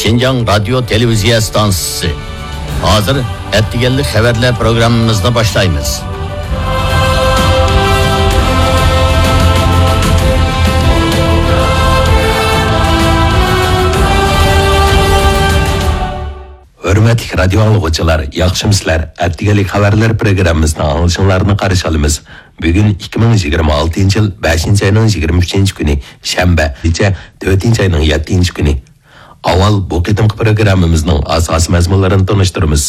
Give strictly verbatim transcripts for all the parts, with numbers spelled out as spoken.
شىنجاڭ رادىيو تېلېۋىزىيە ئىستانسىسى. ھازىر ئەتىگەنلىك خەۋەرلەر پروگراممىمىزنى باشلايمىز. ھۆرمەتلىك رادىيو ئاڭلىغۇچىلار، ياخشىمۇسىلەر؟ ئەتىگەنلىك خەۋەرلەر پروگراممىسىنى ئاڭلىشىڭلارنى قارشى ئالىمىز. بۈگۈن ئىككى مىڭ يىگىرمە ئالتىنچى يىل بەشىنچى ئاينىڭ يىگىرمە ئۈچىنچى كۈنى، شەنبە، كېچە تۆتىنچى ئاينىڭ يەتتىنچى كۈنى. ئاۋۋال بۇ قېتىمقى پروگراممىمىزنىڭ ئاساسىي مەزمۇنلىرىنى تونۇشتۇرىمىز.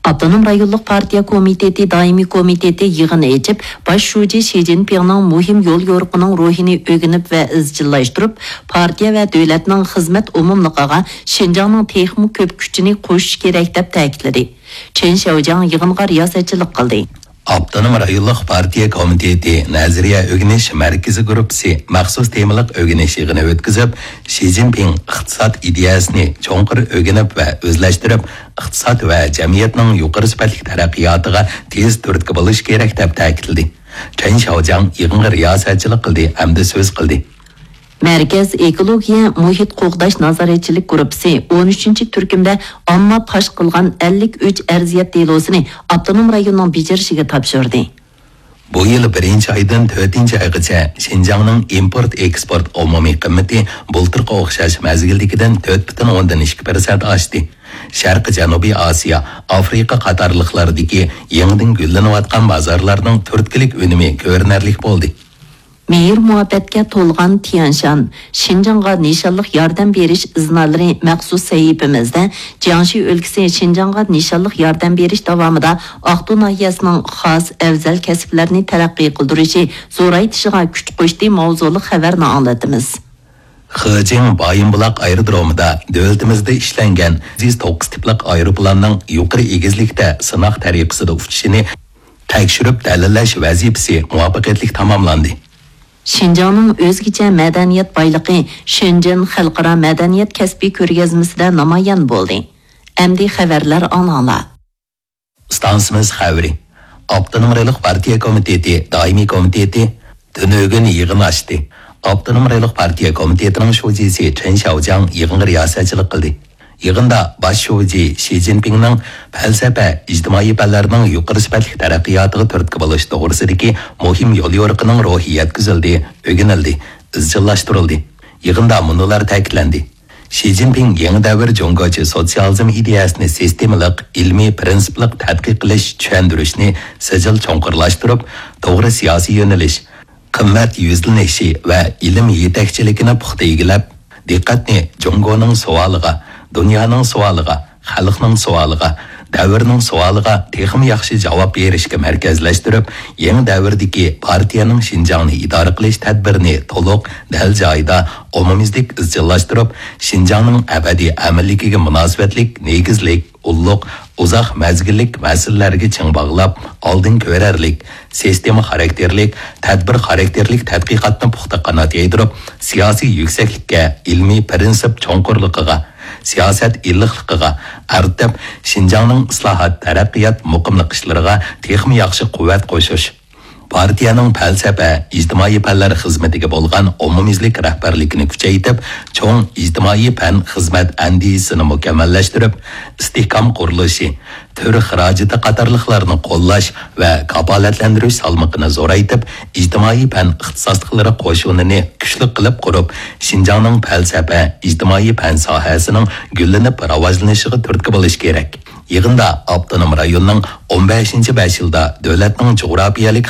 ئاپتونوم رايونلۇق پارتىيە كومىتېتى دائىمىي كومىتېتى يىغىنى ئېچىپ، باش شۇجى شى جىنپىڭنىڭ مۇھىم يول يورۇقىنىڭ روھىنى ئۆگىنىپ ۋە ئىزچىللاشتۇرۇپ، پارتىيە ۋە دۆلەتنىڭ خىزمەت ئومۇملۇقىغا شىنجاڭنىڭ تېخىمۇ كۆپ كۈچىنى قوشۇش كېرەك، دەپ تەكىتلىدى. چېن شياۋجياڭ يىغىنغا رىياسەتچىلىك قىلدى. ئاپتونوم رايونلۇق پارتىيە كومىتېتى نەزەرىيە ئۆگىنىش مەركىزى گۇرۇپپىسى مەخسۇس تېمىلىق ئۆگىنىش يىغىنى ئۆتكۈزۈپ، شى جىنپىڭ ئىقتىساد ئىدىيەسىنى چوڭقۇر ئۆگىنىپ ۋە ئۆزلەشتۈرۈپ، ئىقتىساد ۋە جەمئىيەتنىڭ يۇقىرى سۈپەتلىك تەرەققىياتىغا تېز تۈرتكە بولۇش كېرەك، دەپ تەكىتلىدى. چېن شياۋجياڭ يىغىنغا رىياسەتچىلىك قىلدى ھەمدە سۆز قىلدى. مەركەز ئېكولوگىيە مۇھىت قوغداش نازارەتچىلىك گۇرۇپپىسى ئون ئۈچىنچى تۈركۈمدە ئامما پاش قىلغان ئەللىك ئۈچ ئەرزىيەت دېلوسىنى ئاپتونوم رايوننىڭ بېجىرىشىگە تاپشۇردى. بۇ يىل بىرىنچى ئايدىن تۆتىنچى ئايغىچە شىنجاڭنىڭ ئىمپورت ئېكسپورت ئومۇمىي قىممىتى بۇلتۇرقى ئوخشاش مەزگىلدىكىدىن تۆت پۈتۈن ئوندىن ئىككى پىرسەنت ئاشتى. شەرقىي جەنۇبىي ئاسىيا، ئافرىقا قاتارلىقلاردىكى يېڭىدىن گۈللىنىۋاتقان بازارلارنىڭ تۈرتكىلىك ئۈنۈمى كۆرۈنەرلىك بولدى. مېھىر مۇھەببەتكە تولغان تيەنشان، شىنجاڭغا نىشانلىق ياردەم بېرىش ئىزنالىرى مەخسۇس سەھىپىمىزدە جياڭشى ئۆلكىسى شىنجاڭغا نىشانلىق ياردەم بېرىش داۋامىدا ئاقتۇ ناھىيەسىنىڭ خاس ئەۋزەل كەسىپلەرنى تەرەققىي قىلدۇرۇشى، زورايتىشىغا كۈچ قوشتى ماۋزۇلۇق خەۋەرنى ئاڭلىتىمىز. خېجىڭ بايىنبۇلاق ئايرودرومىدا دۆلىتىمىزدە ئىشلەنگەن زىس توققۇز تىپلىق ئايروپىلاننىڭ يۇقىرى ئېگىزلىكتە سىناق تەرىقىسىدە ئۇچۇشىنى تەكشۈرۈپ دەلىللەش ۋەزىپىسى مۇۋەپپەقىيەتلىك تاماملاندى. شىنجاڭنىڭ ئۆزگىچە مەدەنىيەت بايلىقى شېنجېن خەلقئارا مەدەنىيەت كەسپىي كۆرگەزمىسىدە نامايان بولدى. ئەمدى خەۋەرلەر ئاڭلاڭلار. ئىستانسىمىز خەۋىرى. ئاپتونوم رايونلۇق پارتىيە كومىتېتى دائىمىي كومىتېتى تۈنۈگۈن يىغىن ئاچتى. ئاپتونوم رايونلۇق پارتىيە كومىتېتىنىڭ شۇجىسى چېن شياۋجياڭ يىغىنغا رىياسەتچىلىك قىلدى. يىغىندا باش شۇجى شى جىنپىڭنىڭ پەلسەپە، ئىجتىمائىي پەنلەرنىڭ يۇقىرى سۈپەتلىك تەرەققىياتىغا تۈرتكە بولۇش توغرىسىدىكى مۇھىم يوليورۇقىنىڭ روھى يەتكۈزۈلدى، ئۆگىنىلدى، ئىزچىللاشتۇرۇلدى. يىغىندا مۇنۇلار تەكىتلەندى. شى جىنپىڭ يېڭى دەۋر جۇڭگوچە سوتسىيالىزم ئىدىيەسىنى سىستېمىلىق، ئىلمىي پىرىنسىپلىق تەتقىق قىلىش، چۈشەندۈرۈشنى سىجىل چوڭقۇرلاشتۇرۇپ، توغرا سىياسىي يۆنىلىش، قىممەت يۈزلىنىشى ۋە ئىلىم يېتەكچىلىكىنى پۇختا ئىگىلەپ، دىققەتنى جۇڭگونىڭ سوئالىغا، دۇنيانىڭ سوئالىغا، خەلقنىڭ سوئالىغا، دەۋرنىڭ سوئالىغا تېخىمۇ ياخشى جاۋاب بېرىشكە مەركەزلەشتۈرۈپ، يېڭى دەۋردىكى پارتىيەنىڭ شىنجاڭنى ئىدارە قىلىش تەدبىرىنى تولۇق، دەل جايىدا، ئومۇميۈزلۈك ئىزچىللاشتۇرۇپ، شىنجاڭنىڭ ئەبەدىي ئەمىنلىكىگە مۇناسىۋەتلىك نېگىزلىك، ئۇللۇق، ئۇزاق مەزگىللىك مەسىلىلەرگە چىڭ باغلاپ، ئالدىن كۆرەرلىك، سىستېما خاراكتېرلىك، تەدبىر خاراكتېرلىك تەتقىقاتنى پۇختا قانات يايدۇرۇپ، سىياسىي يۈكسەكلىككە، ئىلمىي پىرىنسىپ چوڭقۇرلۇقىغا، سىياسەت ئىللىقلىقىغا ئارتىپ، شىنجاڭنىڭ ئىسلاھات، تەرەققىيات، مۇقىملىق ئىشلىرىغا تېخىمۇ ياخشى قۇۋۋەت قوشۇش، پارتىيەنىڭ پەلسەپە، ئىجتىمائىي پەنلەر خىزمىتىگە بولغان ئومۇميۈزلۈك رەھبەرلىكىنى كۈچەيتىپ، چوڭ ئىجتىمائىي پەن خىزمەت ئەندىزىسىنى مۇكەممەللەشتۈرۈپ، ئىستىھكام قۇرۇلۇشى، تۈر خىراجىتى قاتارلىقلارنى قوللاش ۋە كاپالەتلەندۈرۈش سالمىقىنى زورايتىپ، ئىجتىمائىي پەن ئىختىساسلىقلىرى قوشۇنىنى كۈچلۈك قىلىپ قۇرۇپ، شىنجاڭنىڭ پەلسەپە، ئىجتىمائىي پەن ساھەسىنىڭ گۈللىنىپ راۋاجلىنىشىغا تۈرتكە بولۇش كېرەك. يىغىندا ئاپتونوم رايوننىڭ ئون بەشىنچى بەش يىلدا دۆلەتنىڭ جۇغراپىيەلىك